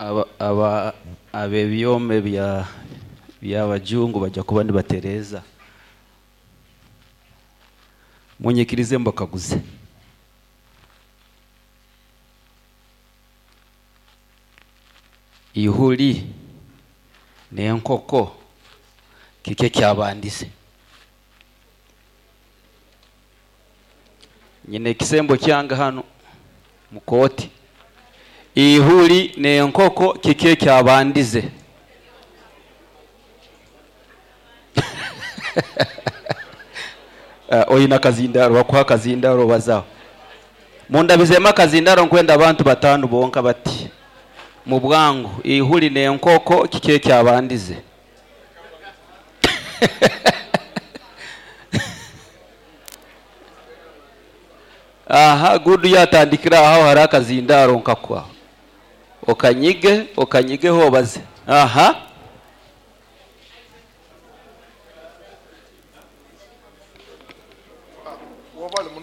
Aba ab'ebyoma by'abajungu bajja kuba nibatereeza. Munyikirize mbakaguze. Ihuli n'enkoko kiki ekyabandize? Nyine ekisembo kyange hanu mukooti. Ihuli n'enkoko kiki ekyabandize? Oyina akazindaro, bakuha akazindaro obazaho. Mundabizemu akazindaro nkwenda abantu 5 bonka bati. Mu bwangu, ihuli n'enkoko kiki ekyabandize? Aha, gudu yatandikira aho hari akazindaro nkakwa. Okanyige, okanyigeho obaze. Aha.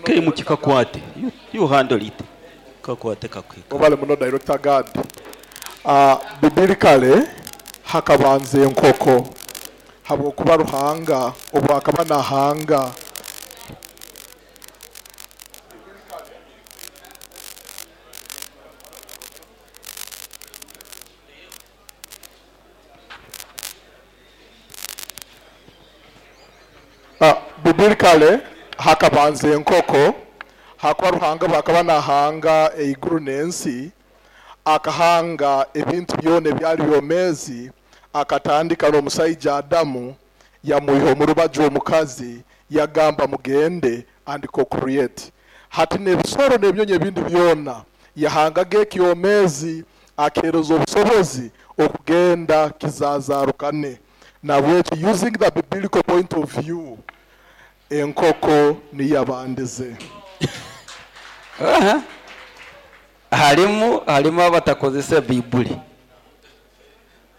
Keimu kikakwate. You handle it. Kakwate kakwika. Obale muno Director Guard. Biblically hakabanza enkoko habwokuba Ruhanga obwakaba nahanga Biblically hakabanza enkoko, hakuba Ruhanga bwakaba nahanga eiguru n'ensi, akahanga ebintu byona ebyali byomezi, akatandika n'omusaija Adamu, yamwiha omu rubaju omukazi, yagamba mugende and co-create. Hati n'ebisoro n'ebyonyi ebindi byona yahangaga ekyomezi, akeereza obusobozi okugenda kizazarukane. Nabwekyo using the biblical point of view, enkoko niyabandize. Harimu abatakozesa Bibuli.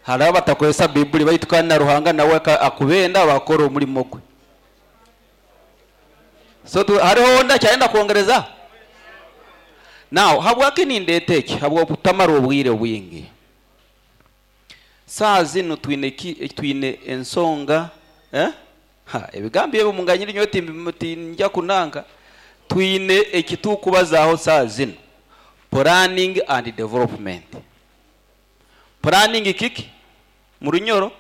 Hari abatakozesa Bibuli baitu kandi na Ruhanga nawe akubenda bakora omulimo gwe. So hariho onda kyayenda kwongereza? Now habwaki nindeeta eki? Habw'obutamara obwire bwingi. Saa zinu twine ensonga, Ha, ebigambo ebyo munganyire nyowe tinja kunanka. Twine ekitukubazaho saa zinu. Planning and development. Planning kiki? Mu Runyoro?